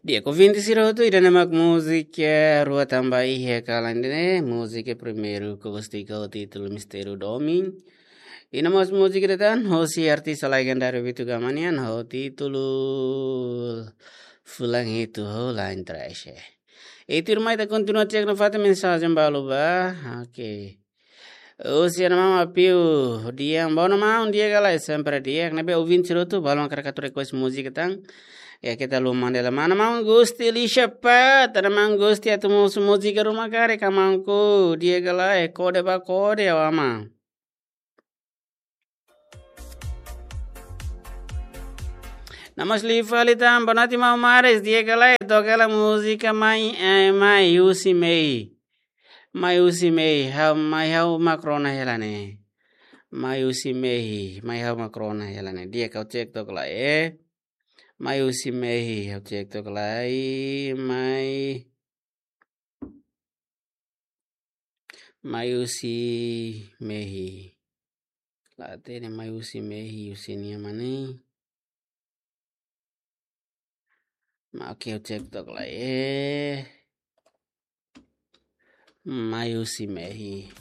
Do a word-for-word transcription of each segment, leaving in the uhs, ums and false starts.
Di'ak, ouvinte sira hotu, ida-ne'e mak múzika rua tanba iha kalan ida-ne'e, múzika primeiru Acústica ho títulu Mistériu Domin. I no mós múzika ida tan, hosi artista legendáriu Vitu Gama nian, ho títulu Fulan Hitu ho Lain Trash. I tuirmai ita kontinua cek nafatin mensajen balu ba. Oke. Husi Ana Maun Apiu, di'ak, bono maun, di'ak ka lae, sempre di'ak. Ne'ebé ouvinte sira hotu, balu mak hakarak atu request múzika tan. Ya, keta haluha manda hela. Mana maun Gusti Lisha Pat, Ana Maun Gusti atu mós múzika ruma karik, Ana Maun ku, di'ak ka lae, kode ba kode, ya, Ana Maun. Namas li fali tan, bonoite maun Maris, di'ak ka lae, toka hela múzika mai, eh, mai husi mehi. Mai husi mehi, ha'u, mai ha'u mak rona hela ne'e. Mai husi mehi, mai ha'u mak rona hela ne'e. Di'ak, ha'u cek took lai, eh. Mai husi mehi, ha'u cek took lai, mai. Mai husi mehi. La hatene mai husi mehi, husi nia mane. Ma, oke, ha'u cek took lai, eh. Mai husi mehi.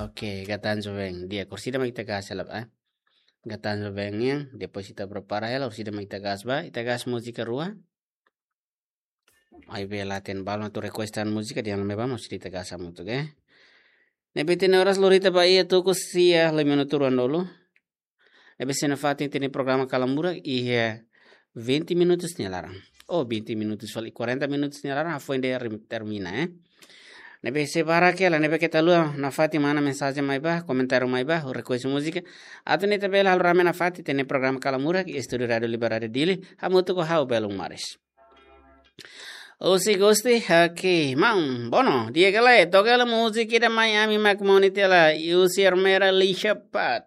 Oke, Gatan Jovem. Di'ak, orsida mak ita gas hela, eh. Gatan Jovem nian, depois ita prepara hela, orsida mak ita gas ba, ita gas múzika rua. Maibé la hatene, balu mak atu request tan múzika, dehan mai ba, mós ita gas hamutuk, eh. Ne'ebé ita-nia oras lori tiha ba iha tuku sia, lima minutu ruanulu. Ne'ebé sei nafatin ita-nia programa Kalan Murak iha vinte minutus nia laran. Oh, vinte minutus fali, quarenta minutus nia laran, hafoin de'it rim-, termina, eh. Ne'ebé sei barak hela, ne'ebé keta haluha nafatin mana mensajen mai ba, komentáriu mai ba, request múzika. Atu nune'e ita bele halo rame nafatin ita-nia programa Kalan Murak iha estúdiu Rádiu Liberdade Dili, hamutuk ho ha'u Belun Maris. Husi Gusti, oke, maun, bono, di'ak ka lae, toka hela múzika ida mai ami mak moni tiha lai, husi Ermera Lisha Pat.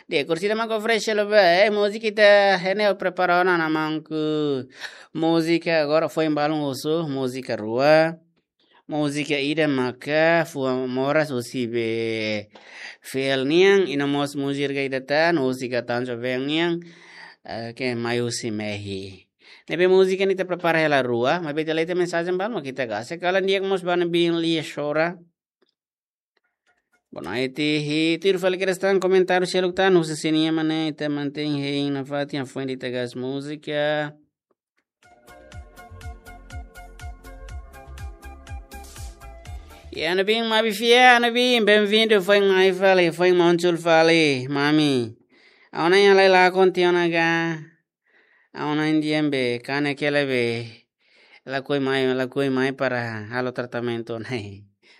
Di'ak, orsida mak oferese hela ba, eh, múzika ida, ne'e ha'u prepara ona, Ana Maun ku, múzika agora foin balun husu, múzika rua. Múzika ida maka fuan moras husi be fiel nian, i no mós múzika ida tan, husi Gatan Jovem nian, eh, ke mai husi mehi. Ne'ebé múzika ne'e ita prepara hela rua, maibé ita lee tiha mensajen balu mak ita gas. Kalan di'ak mós ba Ana Bin Lia Shora. Bonoite, i tuir fali kedas tan komentáriu seluk tan, husi sira-nia mane, ita mantein hein nafatin, hafoin de'it ita gas múzika. Ya, Ana Bin, mabi fiar, Ana Bin, bem-vindo, foin mai fali, foin muncul fali, mami. Ha'u-nia an lai lakon tiha ona ka. Ha'u-nia an di'ak be, kanek hela be. Lakohi mai, lakohi mai para halo tratamentu ona.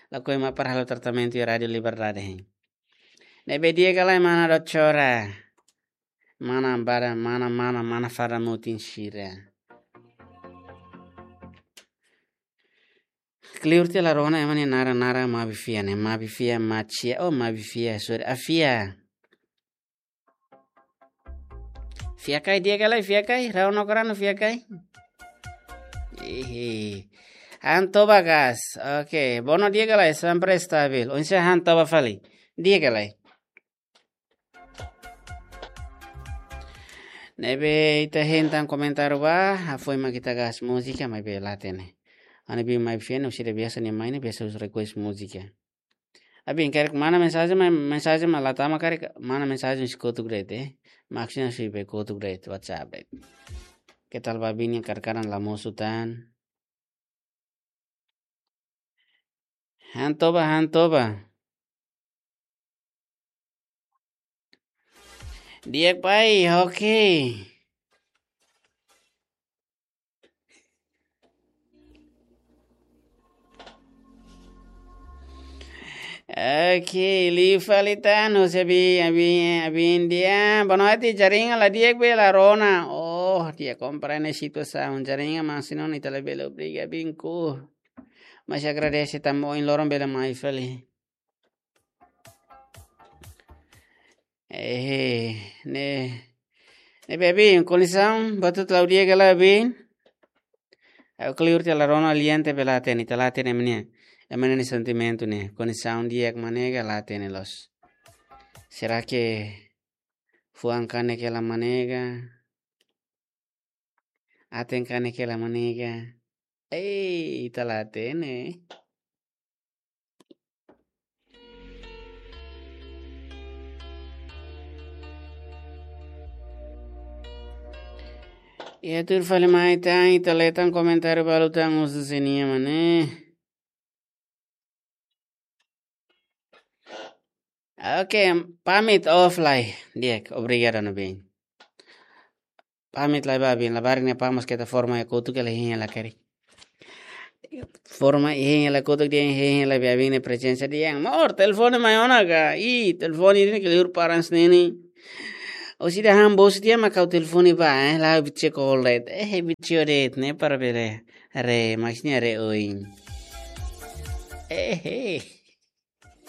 Lakohi mai para halo tratamentu iha Rádiu Liberdade. Ne'ebé di'ak ka lae mana dotora. Mana bara, mana, mana, mana fada mutin sira. Kleur tiha la rona ema nia naran, naran mabi fiar ne'e, mabi fiar, macia, oh, mabi fiar, sorry, afia. Fiar ka lae, di'ak ka lae, fiar ka lae, rau no korano fiar ka lae. Ih. Han toba gas. Oke, bono di'ak ka lae, sempre stabil. Oinsá han toba fali. Di'ak ka lae. Ne'ebé ita hein tan komentáriu ba, hafoin mak ita gas múzika, maibé la hatene. Ana Bin, mabi fiar ne'e, orsida biasa nia mai ne'e, biasa husu request múzika. Ana Bin, karik mana mensajen, ma-, mensajen mak la tama karik, mana mensajen husi kotuk de'it, eh. Maksudnya husi be kotuk de'it, WhatsApp de'it. Keta haluha, Ana Bin, yang kadang-kadang la mosu tan. Han toba, han toba. Di'ak pai, oke. Oke, liu fali tan, husi Abi, Abi, Abi India. Bonoite, jaringan la di'ak be la rona. Oh, di'ak, komprende situasaun. Jaringan mak sira-ne'e, ita labele obriga Abin ku. Mas agradese tanba ohin loron bele mai fali. Eh, ne'e, ne'ebé Abin, kondisaun buat hotu la'o di'ak ka lae, Abin? Ha'u kleur tiha la rona, lian tiha be la hatene, ita la hatene ema nia, ema nia sentimentu ne'e, kondisaun di'ak mak ne'e ka, la hatene loos. Será que fuan kanek hela mak ne'e ka? Aten kanek hela manega. Ei, ita la hatene. Iha tuir fali mai tan, ita lee tan komentáriu balu tan, husu sira-nia mane. Oke, pamit, off lai. Di'ak, obrigadu, no bem. Pamit lai ba, bem, labarik ne'e pamit, keta forma iha kotuk, ela hein hela karik. Forma hein hela kotuk, dehan hein hela ba, bem, ne'e prezensa dehan. Amor, telefone mai ona ka? Ih, telefone ne'e ke liur paran sini. Ó sei dehan bos de'it mak ha'u telefone ba, eh, la video call de'it. Eh, video de'it, ne'e para bele. Re, maksudnya re oin. Eh, eh.